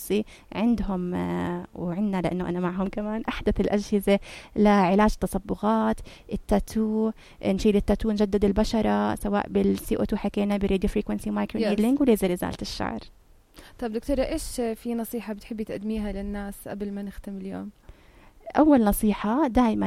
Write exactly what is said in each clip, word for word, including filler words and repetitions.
التخصصي عندهم وعندنا لأنه أنا معهم كمان أحدث الأجهزة لعلاج تصبغات، التاتو، نشيل التاتو، نجدد البشرة سواء بالسي او تو حكينا بالراديو فريكونسي مايكرو نيدلينج وليزر إزالة الشعر. طب دكتورة إيش في نصيحة بتحبي تقدميها للناس قبل ما نختم اليوم؟ أول نصيحة دائما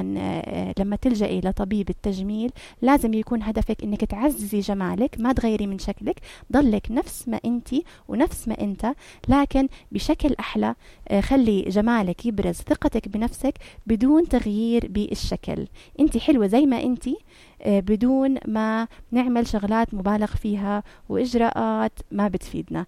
لما تلجئي لطبيب التجميل لازم يكون هدفك إنك تعززي جمالك، ما تغيري من شكلك، ضلك نفس ما أنتي ونفس ما أنت لكن بشكل أحلى. خلي جمالك يبرز ثقتك بنفسك بدون تغيير بالشكل. أنتي حلوة زي ما أنتي بدون ما نعمل شغلات مبالغ فيها وإجراءات ما بتفيدنا.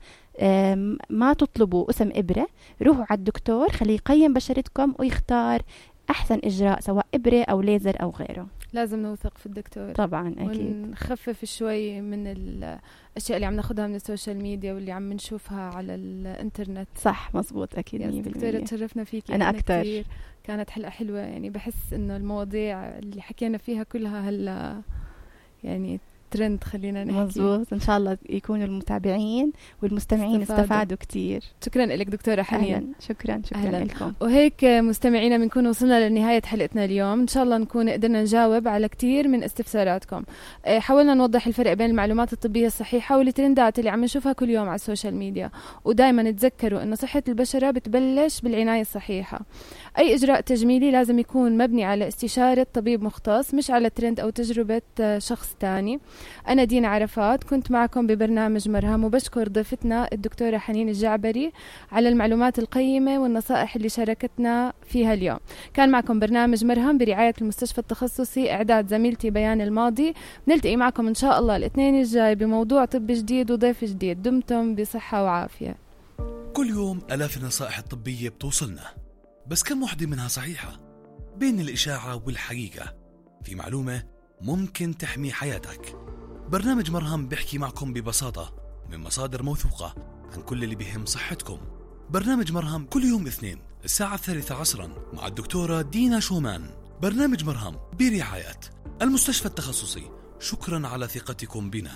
ما تطلبوا قسم إبرة، روحوا على الدكتور خليه يقيم بشرتكم ويختار أحسن إجراء سواء إبرة أو ليزر أو غيره. لازم نوثق في الدكتور طبعا أكيد، ونخفف شوي من الأشياء اللي عم ناخدها من السوشيال ميديا واللي عم نشوفها على الإنترنت. صح مزبوط أكيد. دكتورة تشرفنا فيكي أنا أكتر، كانت حلقة حلوة يعني. بحس إنه المواضيع اللي حكينا فيها كلها هلا يعني ترند خلينا نحكي. مزبوط، إن شاء الله يكونوا المتابعين والمستمعين استفادوا, استفادوا كتير. شكرا لك دكتورة حنين. أهلاً. شكرا شكرا أهلاً. لكم. وهيك مستمعينا بنكون وصلنا لنهاية حلقتنا اليوم. إن شاء الله نكون قدرنا نجاوب على كتير من استفساراتكم. حاولنا نوضح الفرق بين المعلومات الطبية الصحيحة والترندات اللي عم نشوفها كل يوم على السوشيال ميديا، ودايما تذكروا إنه صحة البشرة بتبلش بالعناية الصحيحة. أي إجراء تجميلي لازم يكون مبني على استشارة طبيب مختص، مش على ترند أو تجربة شخص تاني. أنا دينا عرفات، كنت معكم ببرنامج مرهم، وبشكر ضيفتنا الدكتورة حنين الجعبري على المعلومات القيمة والنصائح اللي شاركتنا فيها اليوم. كان معكم برنامج مرهم برعاية المستشفى التخصصي، إعداد زميلتي بيان الماضي. نلتقي معكم إن شاء الله الاثنين الجاي بموضوع طب جديد وضيف جديد. دمتم بصحة وعافية. كل يوم آلاف النصائح الطبية بتوصلنا، بس كم وحدة منها صحيحة؟ بين الإشاعة والحقيقة في معلومة ممكن تحمي حياتك. برنامج مرهم بيحكي معكم ببساطة من مصادر موثوقة عن كل اللي بيهم صحتكم. برنامج مرهم كل يوم اثنين الساعة الثالثة عصرا مع الدكتورة دينا شومان. برنامج مرهم برعاية المستشفى التخصصي. شكرا على ثقتكم بنا.